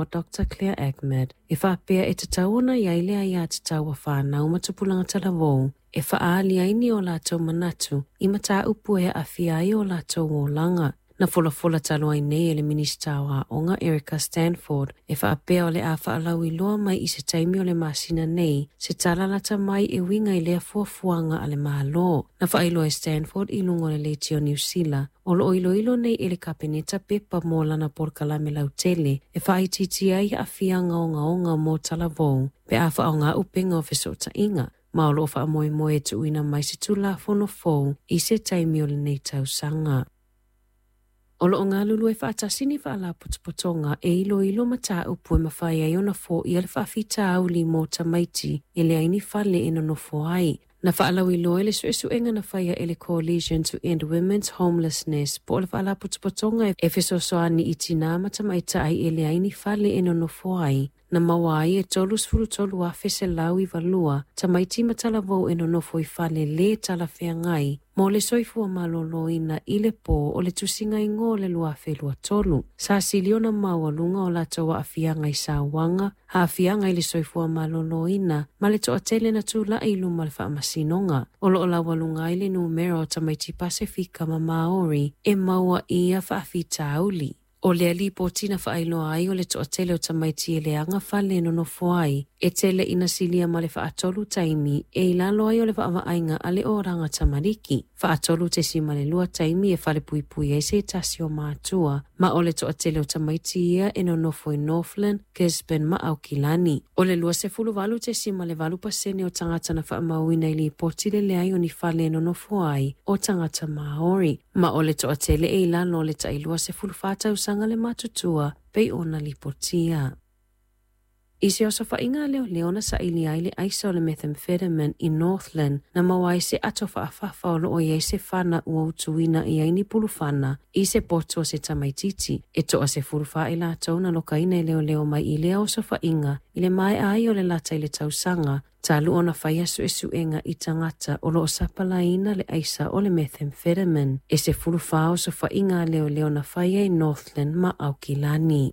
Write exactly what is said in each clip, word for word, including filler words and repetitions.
O Doctor Claire Ahmed e faapea e tatau ona i ai le aiatatau a fanau ma tupulaga talavou e faaali ai ni o latou manatu i mataupu e aafia ai o latou olaga. Na folafola talu ai nei e le Minisita o Aoga Erica Stanford e faapea o le a faalauiloa mai i se taimi o le masina nei se tala lata mai e uiga i lea fuafuaga a le Malo. Na faailoa e Stanford i luga o le Leitio Niu Sila o loo iloilo nei e le Kapeneta pepa mo lana polokalame lautele e faaitiitia ai aafiaga ogaoga mo talavou pe a faaaoga upega o fesootaiga, ma o loo faamoemoe e tuuina mai se Tulafono fou i se taimi o lenei tausaga. O loo galulue faatasi ni faalapotopotoga e iloilo mataupu e mafai ai ona foia le faafitauli mo tamaiti e leai ni fale e nonofo ai. Na faalauiloa e le suesuega na faia e le Coalition to End Women's Homelessness po o le faalapotopotoga e fesoasoani i tinā ma tamaitai e leai ni fale e nonofo ai, na maua ai e tolu afe selau iva lua tamaiti ma talavou e nonofo i fale le talafeagai mo le soifua maloloina i le pō o le tusiga igoa o le lua afe lua tolu. Sa sili ona maualuga o latou aafiaga i sauaga, aafiaga i le soifua maloloina ma le toatele na tulai i luma o le faamasinoga. O loo laualuga ai le numera o tamaiti Pasefika ma Maori e maua i ia faafitauli. O lea lipoti na faailoa ai o le toatele o tamaiti e leaga fale e nonofo ai, e tele ina silia ma le faatolu taimi e i lalo ai o le vaavaaiga a le oraga tamariki. Faatolu tesima le lua taimi e fale puipui ai se tasi o matua, ma o le toatele o tamaiti ia e nonofo i Northland, Gisborne ma Aukilani. O le lua sefulu valu tesima le valu pasene o tagata na faamauina i lipoti le leai o ni fale e nonofo ai o tagata Maori, ma o le toatele e i lalo o le tailua sefulu fa tausaga le matutua pei ona lipotia. I se osofaiga a leoleo na saili ai le aisa o le methamphetamine i Northland, na maua ai se ato faafafa o loo i ai se fana ua utuina i ai ni pulufana i se poto o se tamaititi. E toa sefulu fa i latou na lokaina e leoleo mai i lea osofaiga i le maea ai o le lata i le tausaga talu ona faia suesuega i tagata o loo sapalaina le aisa o le methamphetamine. E sefulu fa osofaiga a leoleo na faia i Northland ma Aukilani.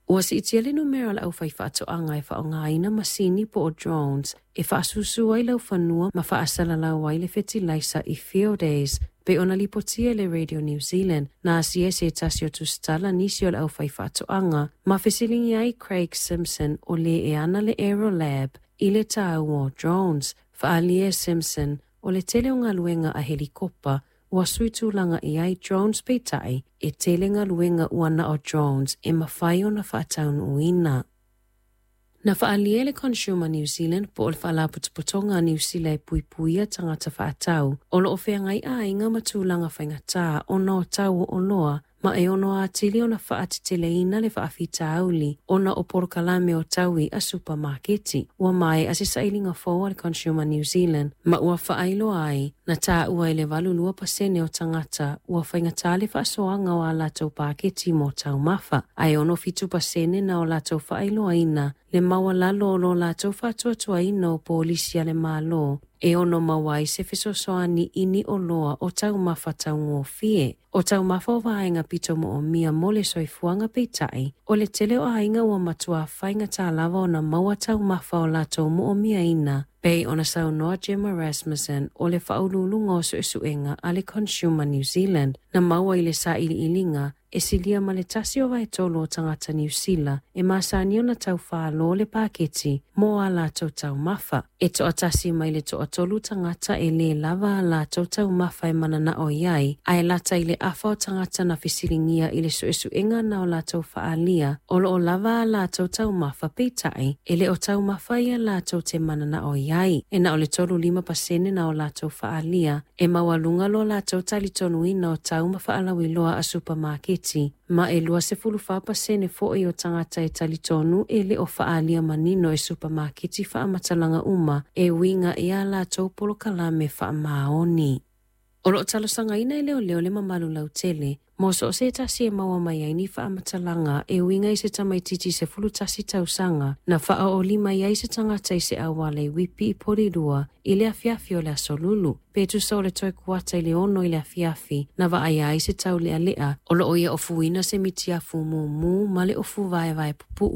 Ua siitia le numera o le aufai faatoaga e faaaogaina masini po o drones e faasusu ai laufanua ma faasalalau ai le fetilaisa i Fieldays pe ona lipotia e le Radio New Zealand. Na asia e se tasi o tusitala nisi o le aufai faatoaga ma fesiligia ai Craig Simpson o le e ana le Aerolab i le taua o drones. Faaalia e Simpson o le tele o galuega a helikopa ua sui tulaga i ai drones, peitai e tele galuega ua na o drones e mafai ona faataunuuina. Na faaalia e le Consumer New Zealand po o le faalapotopotoga a Niu Sila e puipuia tagata faatau o loo feagai aiga ma tulaga faigatā ona o tau o oloa ma e ono atili ona faateteleina le faafitauli ona o polokalame o taui a supamaketi. Ua maea se sailiga fou a le Consumer New Zealand ma ua faailoa ai na taua i le valu lua pasene o tagata ua faigatā le faasoaga o a latou paketi mo taumafa, ae ono fitu pasene na o latou faailoaina le maualalo o lo latou faatuatuaina o polisi a le Malo e ono maua ai se fesoasoani i ni oloa o taumafa taugofie. O taumafa o vaega pito moomia mo le soifuaga, peitai o le tele o aiga ua matua faigatā lava ona maua taumafa o latou moomiaina, pei ona saunoa Gemma Rasmussen o le faauluuluga o suesuega a le Consumer New Zealand. Na maua i le sailiiliga e silia ma le tasi o vaetolu o tagata Niu Sila e masani ona taufālō le paketi mo a latou taumafa. E toatasi mai le toatolu tagata e lē lava a latou taumafa e mananao i ai, ae lata i le afa o tagata na fesiligia i le suesuega na o latou faalia o loo lava a latou taumafa, peitai e le o taumafa ia latou te mananao i ai. E na o le tolu lima pasene na o latou faalia e maualuga lo latou talitonuina o tau ma faalauiloa a supamaketi, ma e lua sefulu fa pasene foi o tagata e talitonu e le o faalia manino e supamaketi faamatalaga uma e uiga i a latou polokalame faamaoni. O loo talosagaina e leoleo le mamalu lautele Mo so o se tasi e maua mai ai ni faamatalaga e uiga i se tamaititi sefulu tasi tausaga na faaoolima i ai se tagata i se auala i Uipi i Polilua i le afiafi o le Aso Lulu, pe tusa o le toe kuata i le ono i le afiafi na vaaia ai se taulealea o loo ia ofuina se mitiafu mumu ma le ofu vaevae pupuu.